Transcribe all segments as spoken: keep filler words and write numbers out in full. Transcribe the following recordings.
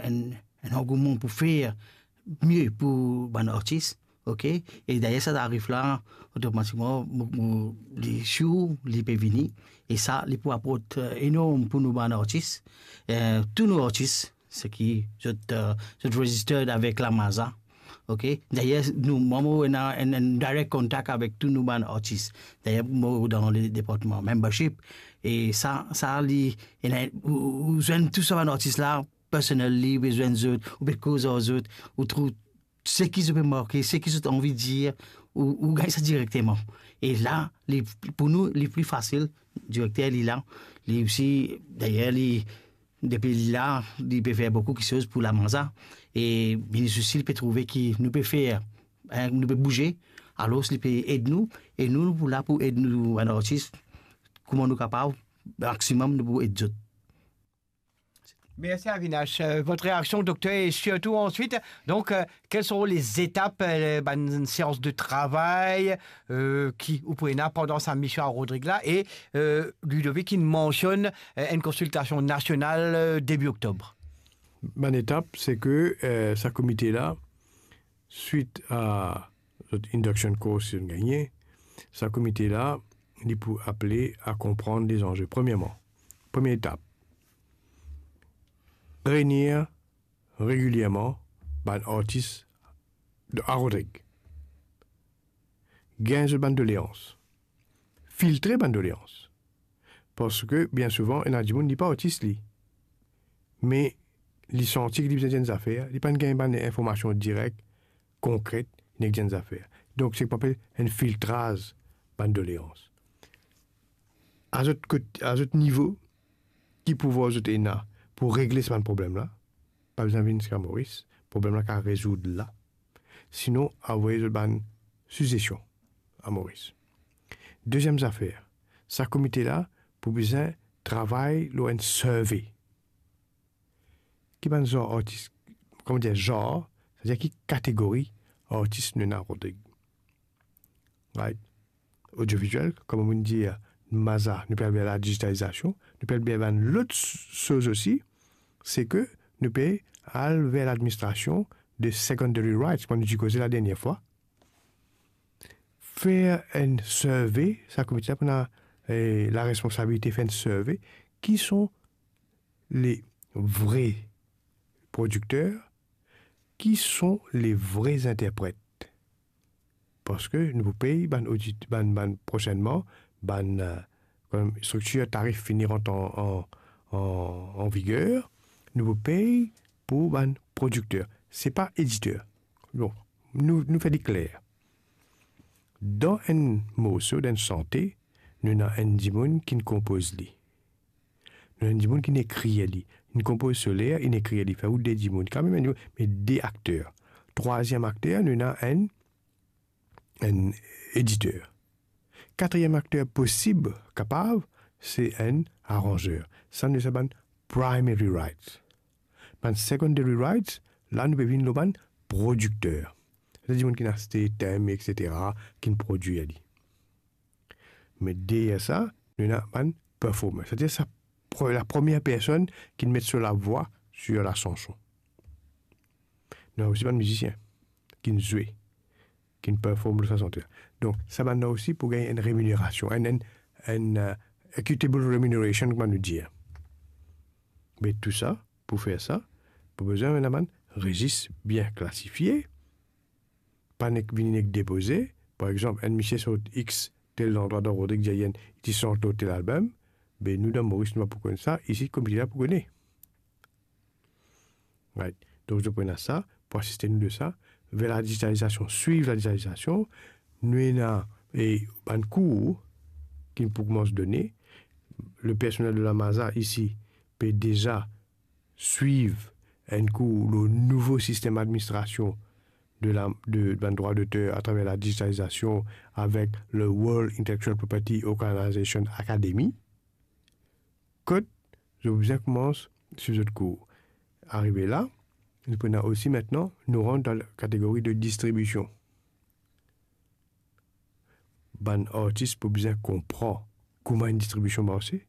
enn, enn angouman pou fer mie pou bann artis, ok? E dayer sa ariv la, otomatikman, mo, mo, li sir, li pe vini. E sa, li pou aport, eh, enorm pou nou bann artis. Eh, tou nou artis, seki zot, eh, zot registered avek Lamaza, ok? Dayer, nou, mwa, mo ena enn, enn direct contact avek tou nou bann artis. Dayer, mo dan le departman membership. E sa, sa, li, ena, ou, ou zwenn tou sa bann artis la, personally, ou pe zwenn zot, ou pe koz ar zot, ou trouv seki zot pe marke, seki zot anvi dir, ou, ou gagn sa direkteman. E la, li, pou nou, li pli fasil, direkter li la, li osi, dayer, li, depi li la, li pe fer boukou kiksoz pou Lamaza. E minis osi, li pe trouve ki nou pe fer, hein, nou pe bouze, alor li pe ed nou, e nou, nou pou la pou ed nou, bann artis, kouma nou kapav, maximum nou pou ed zot. Merci Avinash. Euh, votre réaction, docteur, et surtout ensuite, donc, euh, quelles seront les étapes, euh, ben, une séance de travail euh, ki ou pou ena pandan sa mision a Rodrig la? E euh, Ludovic, il mentionne euh, une consultation nationale euh, début octobre. Bann etap, se ke euh, sa komite la, swit a zot induction course ki zot gagne, sa komite la, li pou apele a konprann lezanze. Premierman, premie etap, reynir regilierman bann artis de a Rodrig. Gagn zot bann doleans. Filtre bann doleans. Parski bien souvan, ena dimoun, li pa artis li. Me li santi ki li bizin dir enn zafer, li pa gagn bann informasion direk, konkret, nek dir enn zafer. Donk, se ki apel enn filtraz bann doleans. A zot kot-, a zot nivo, ki pouvwar zot ena pou regle sa bann problem la? Pa bizin vinn ziska Moris, problem la kapav rezoud la. Sinon, avoy zot bann sizesion a Moris. Deziem zafer, sa komite la pou bizin travay lor enn survey. Ki bann zar artis, kouma dir zar, setadir ki kategori artis nou ena a Rodrig? Right? Odioviziel, kouma mo dir, Maza, nou pe al ver ladizitalizasion, nou pe al ver bann lot soz osi, se ke nou pe al ver ladministrasion de secondary rights, kouma nou ti koze ladernie fwa. Fer enn survey, sa komite la pou ena eh, laresponsabilite fer enn survey, ki son le vre prodikter, ki son le vre interpret. Parski nou pou pey bann odit, bann, bann prosennman, bann euh, kan striktir tarif fini rant an, an, an, an viger, nou pou pey pou bann prodikter. Se pa editer. Bon, nou, nou fer li kler. Dan enn morso, dan enn sante, nou ena enn dimoun ki'nn konpoz li. Nou ena enn dimoun ki'nn ekrir li. Inn konpoz so ler, inn ekrir li. Fer ou de dimoun, kanmem enn dimoun, me de akter. Trwaziem akter, nou ena enn, enn editer. Katriem akter posib, kapav, se enn aranzer. Sa nou apel sa bann primary rights. Bann secondary rights, la nou pe vinn lor bann prodikter. Sa dimoun ki'nn aste tem, etsetera, ki'nn prodwir li. Me deryer sa, nou ena bann performer. Setadir sa pre-, la premie personn ki'nn met so lavwa sir lasanson. Nou ena osi bann mizisien ki'nn zwe, ki'nn perform lor sa sante la. Donk, sa bann la osi pou gagn enn reminerasion, enn, enn, enn euh, equitable remuneration, kouma nou dir. Me tou sa, pou fer sa, pou bizin ena bann rezis bien klasifie, pa nek vini nek depoze. Par exanp, enn misie sort X tel landrwa dan Rodrig Dzayenn, li ti sant lor tel album, be nou dan Moris nou pa pou konn sa, isi komite la pou kone. Right. Donk, zot pou ena sa, pou asiste nou de sa, ver ladizitalizasion, swiv ladizitalizasion, nou ena e bann kour ki pou koumans done, le personel de la Maza isi pe deza swiv enn kour lor nouvo sistem administrasion de la, de, bann drwa doter atraver ladizitalizasion avek le World Intellectual Property Organization Academy. Kot zot bizin koumans swiv zot kour. Arive la, nou pou ena osi aster, nou rant dan kategori de distribision. Bann artis pou bizin konpran kouma enn distribision marse,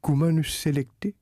kouma nou selekte